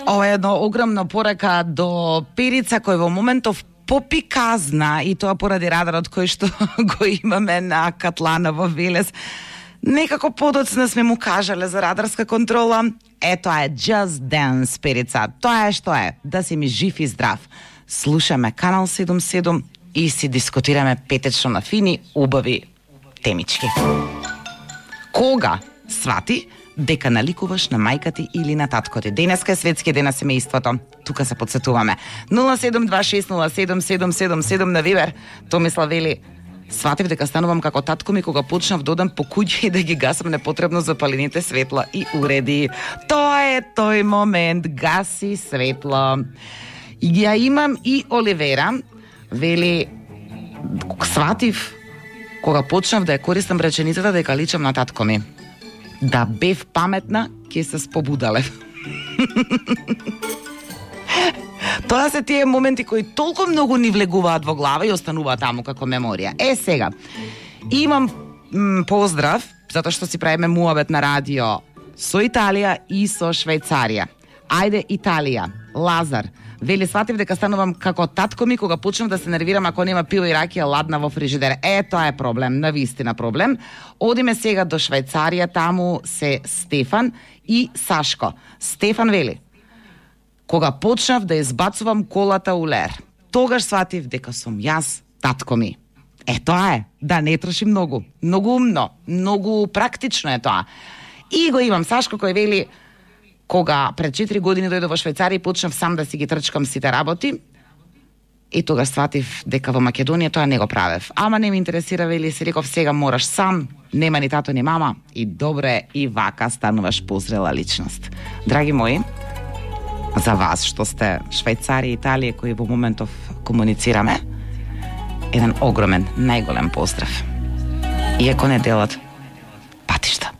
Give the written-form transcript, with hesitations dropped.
Ова е едно огромно порека до Перица кој во моментов попиказна и тоа поради радарот кој што го имаме на Катлана во Велес. Некако подоцна сме му кажале за радарска контрола. Тоа е Just Dance, Перица. Тоа е што е, да си ми жив и здрав. Слушаме Канал 77 и си дискутираме петечно на фини, убави темички. Кога свати дека наликуваш на мајка ти или на татко ти? Денеска е светски ден на семејството. Тука се подсетуваме. 072607777 на Вибер. Томислав вели: сватив дека станувам како татко ми кога почнав да одам по куќи и да ги гасам непотребно запалените светла и уреди. Тоа е тој момент, гаси светло. И ја имам и Оливера, вели: сватив кога почнав да ја користам реченицата дека личам на татко ми. Да бев паметна, ќе се спобудалев. Тоа се тие моменти кои толку многу ни влегуваат во глава и остануваат таму како меморија. Сега, имам поздрав, затоа што си правиме муабет на радио со Италија и со Швајцарија. Ајде, Италија. Лазар вели: сватив дека станувам како татко ми кога почнав да се нервирам ако нема пиво и ракија ладна во фрижидер. Тоа е проблем, навистина проблем. Одиме сега до Швајцарија, таму се Стефан и Сашко. Стефан вели: кога почнав да избацувам колата у лер, тогаш сватив дека сум јас татко ми. Тоа е, да не троши многу. Многу умно, многу практично е тоа. И го имам Сашко кој вели: кога пред 4 години дојдов во Швајцарија и почнав сам да си ги трчкам сите работи, и тогаш сватив дека во Македонија тоа не го правев. Ама не ме интересира, вели, си реков сега мораш сам, нема ни тато ни мама, и добре, и вака стануваш позрела личност. Драги мои, за вас што сте Швајцарија и Италија кои во моментов комуницираме, еден огромен, најголем поздрав. Иако не делат патишта.